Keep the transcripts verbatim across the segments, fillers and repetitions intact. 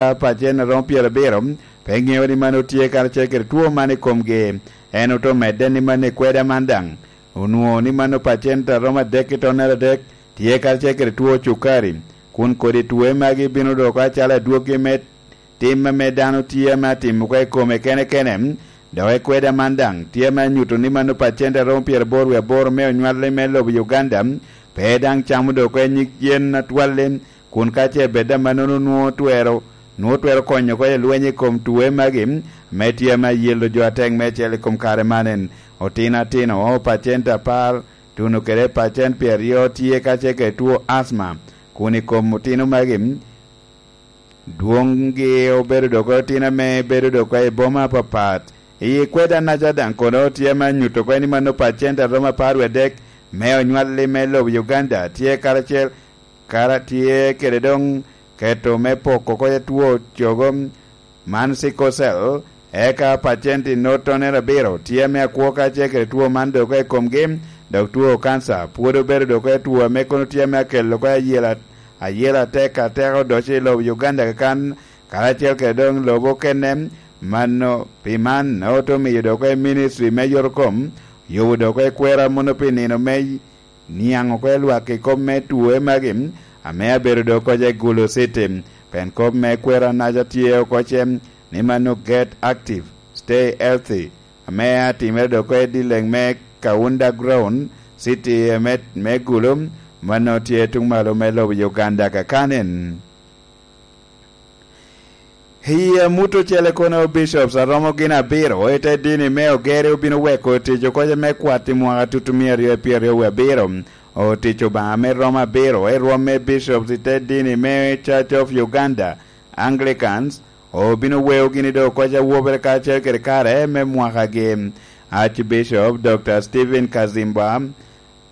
pacent a romo pyerabiro, pe ŋeo ni mano tye karacel kede two man i komgi. En ote medde ni mano i kweda man daŋ onwoŋo ni mano pacent a romo adek i tonnere adek tye karacel kede two cukari, kun kodi twoe magi bino doko acalo adwoggi me tim ame dano tye ame atimo oko i kome kene kene, dok i kweda man daŋ tye ame anyuto ni mano pacent a romo pyeraboro wie aboro me onywalli me lobo Uganda pe daŋ camo doko i nyig yen atwalli, kun ka ce bed amannono nwoŋo twero, nwoŋo twero konyo oko i lweny i kom twoe magi, ame tye ame ayelo jo atek meicel i kom kare manen. Otino atino, pacent apar tuno kede pacent pyeraryo tye ka ce kede two asma, kun i kom otino magi, dwoŋgi obedo dok otino ame bedo dok i boma apapat. I kweda naca daŋ kono tye ame anyuto oko ni mano pacent a romo apar wie adek me onywalli me lobo Uganda tye karacel, kara tye kede doŋ keto me poko oko two cogo man sickle cell, eka pacent i nottonere abiro tye ame akwo ka ce kede two man dok i komgi, dok two kanca pwod obedo dok i two ame kono tye ame akelo oko ayela, ayela atek ateka odoco i lobo Uganda kakan, karacel kede doŋ lobo okene. Mano, pi man, ote omiyo dok i ministry me yotokom, yubo dok i kwera mono pi nino me niaŋ oko i lwak i kop me twoe magi, ame abedo dok koca i Gulu City. Pien kop me kwera naca tye oko ce ni mano get active, stay healthy, ame atimere dok oko i dileŋ me Kaunda Ground, City me, me Gulu, mano tye tuŋ malo me lobo Uganda kakanen. I amut ocele kono, bishops a romo gin abiro i te dini me Ogeri obino weko tic oko me kwat i mwaka tutumia aryo pyeraryo wie abiro. Otic Obaŋa me romo abiro i rwom me bishops i te dini me Church of Uganda, Anglicans, obino weo gini dok oko awobere kacel kede kare me mwakagi. Archbishop Doctor Stephen Kazimba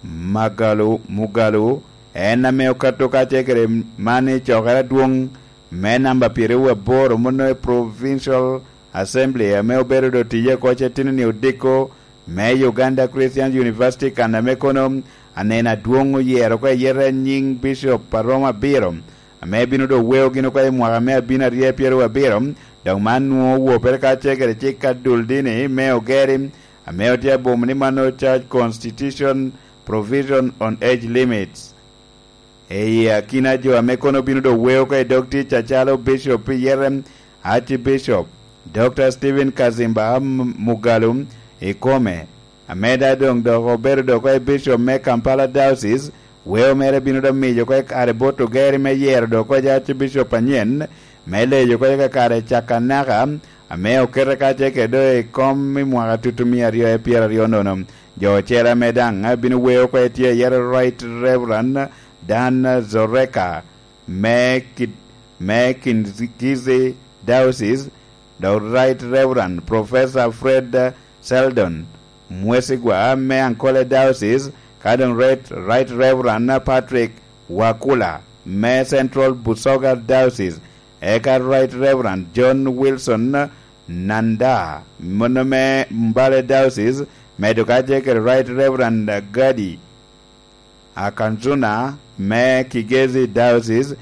Magalu, Mugalu, en ame okato kacel kede man i cokere adwoŋ me namba pyeraryo aboro mono i Provincial Assembly ame obedo do tiye oko cetino-ni odiko me Uganda Christian University, kan ame kono aneno adwoŋ oyero oko i yete nyiŋ Bishop a romo abiro, ame bino do weo gin oko i mwaka me abino aryo pyeraryo abiro, dok man nwoŋo owopere kacel kede cik ka dul dini me Ogeri, ame otye abomo ni mano Church Constitution Provision on Age Limits. I akina jo ame kono bino do weo oko i dog tic acalo Bishop pi yete, Archbishop Doctor Stephen Kazimba M-, Mugalu ikome, ame da doŋ dok obedo dok oko i Bishop me Kampala Diocese, weo mere bino do miyo oko i kare bot Ogeri me yero dok oko i Archbishop anyen, me leyo oko i kakare cak anaka, ame okete kacel kede do i kom i mwaka tutumia aryo pyeraryo nono. Jo ocele ame daŋ bino weo oko tye iye Right Reverend Dan Zoreka me Ki-, me Kingizi Diocese, dok Right Reverend Professor Fred Seldon Mwesigwa me Ankole Diocese, ka doŋ Right, Right Reverend Patrick Wakula me Central Busoga Diocese, eka Right Reverend John Wilson Nanda, mono me Mbale Diocese, medo kacel kede Right Reverend Gadi Akanzuna me Kigezi Diocese.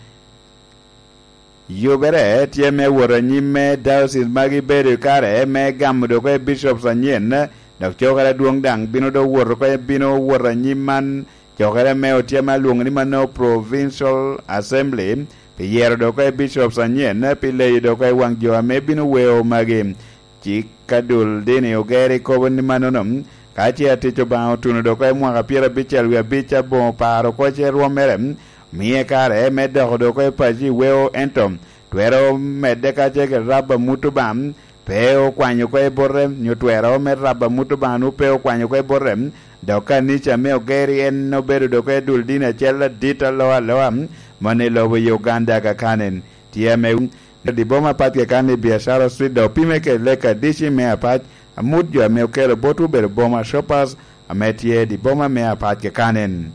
Yubere tye me wot anyim me diocese magi bedo i kare me gamo dok i bishops anyen, dok cokere adwoŋ daŋ bino do wot oko, bino wot anyim man, cokere me otye ma lwoŋo ni mano Provincial Assembly, pi yero dok i bishops anyen, pi leyo dok i waŋ jo ame bino weo magi. Cik ka dul dini Ogeri kobo ni mannono, ka ce atic Obaŋa otuno dok i mwaka pyerabicel wie abic aboŋo paro oko ce rwommere, mie kare me doko dok i paco i weo, ento twero medde ka ce kede rabo amut Obaŋa pe okwanyo oko i bote, nyo twero me rabo amut Obaŋa nwoŋo pe okwanyo oko i bote, dok kanica me Ogeri en obedo dok i dul dini acel adit alo aloa, mano i lobo Uganda kakanen. Tye ame di boma apac keken i Biashara Street, dok opime kede lek adici me apac, amut jo ame okelo botwu obedo boma shoppers ame tye di boma me apac keken.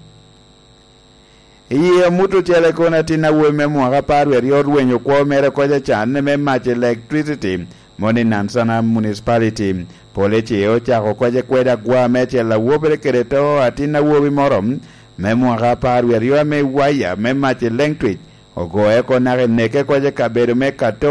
I amut ocele kono, atin awobi me mwaka apar wie aryo orwenyo kwo mere oko can me mac electricity, mono i Nansana Municipality. Police ocako oko kweda agwa me acel awobere kede to atin awobi moro me mwaka apar wie aryo ame waya me mac electric Ogoye oko naka i neke koc i kabedo me Kato.